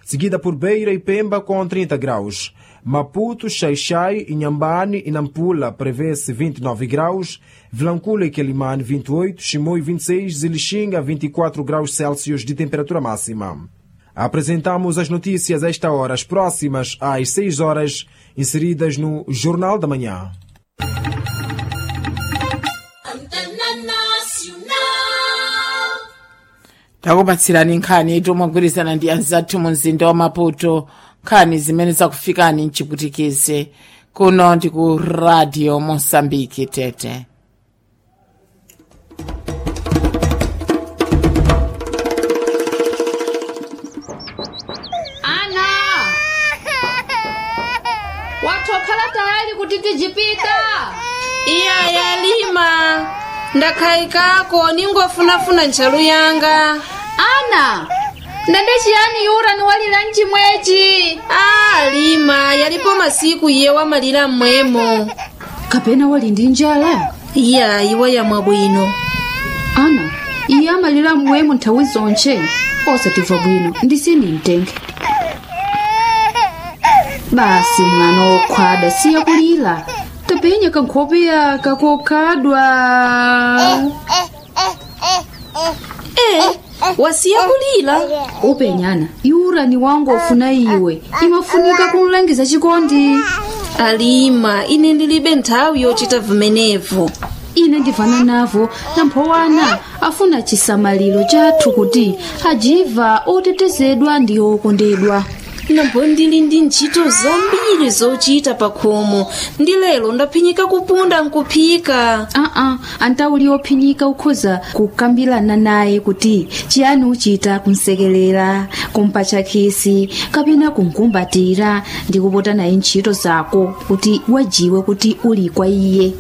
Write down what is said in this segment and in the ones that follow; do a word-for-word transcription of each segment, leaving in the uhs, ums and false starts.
seguida por Beira e Pemba com trinta graus. Maputo, Xaixai, Inhambane e Nampula prevê-se vinte e nove graus, Vilanculo e Quelimane vinte e oito, Chimoio vinte e seis e Lixinga vinte e quatro graus Celsius de temperatura máxima. Apresentamos as notícias a esta hora, as próximas às seis horas, inseridas no Jornal da Manhã. Takupatsirani nkhani tomagwirizana ndi anzathu mu mzinda wa Maputo, nkhani zimene zakufikani mchiputikize kuno ndi ku Radio Mosambiki Tete. Ana, watokhala tayali kuti tijipita? Iya yalima, ndakhaikako ningofunafuna ntchalu yanga. Ana, ndende chiyani yura niwalira mchimwechi? Ah, lima, yalipo masiku iye wamalira mmwemo. Kapena wali ndi njala? Iya, iwo yamwa bwino. Ana, iye amalira mmwemo nthawi zonche, osatimva bwino ndisini mtenge. Basi mwana wokhwada siya kulira, tapenya kankhope yaka kokhadwa. Eh, wasiya kulira? Upenyana yura ni wangu ofuna iwe imafunika kumlangiza chikondi. Alima, ine ndilibe nthawi yochita vimenevo. Ine ndivana navo namphowana afuna chisamaliro chathu kuti ajiva otetezedwa ndi okondedwa. Nambo ndili ndi ntchito zambiri zochita pakhomo ndi lero ndaphinyika kupunda nkuphika. Aa, antauli ophinyika ukhoza kukambirana naye kuti chiyani uchita kumsekelera, kumpatcha khisi kapena kumkumbatira ndi kupota naye ntchito zako kuti wajiwe kuti uli kwa iye.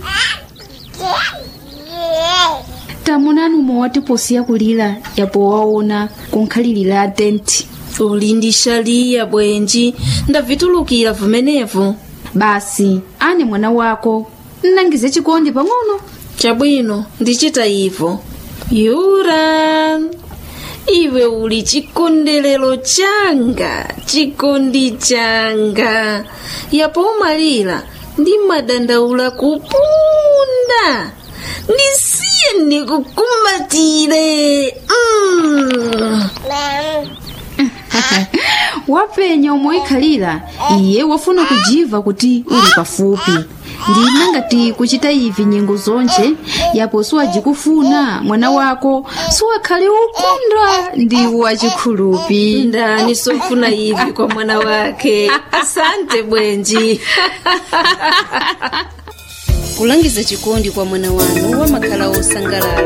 Tamunani umwe posiya kulira yapo waona kunkhalirira tenti. Uli ndi shaliya bwenji, ndavitulukira vimenevo. Basi ane mwana wako nnangize chikondi pang'ono. Chabwino, ndichita ivo. Yura, iwe uli chikondelero changa, chikondi changa. Yapo umalira ndi madandaula kupunda. Ndisiye ndikukumbatire. Mm. Wapenya omwe ikhalira iye wafuna kujiva kuti uli pafupi. Ndina ngati kuchita ivi nyengo zonche yapo siwajikufuna mwana wako siwakhale ukondwa ndi wachikhulupi. Ndani sofuna ivi kwa mwana wake. Asante bwenji. Kulangiza chikondi kwa mwana wanu wamakhala osangalala.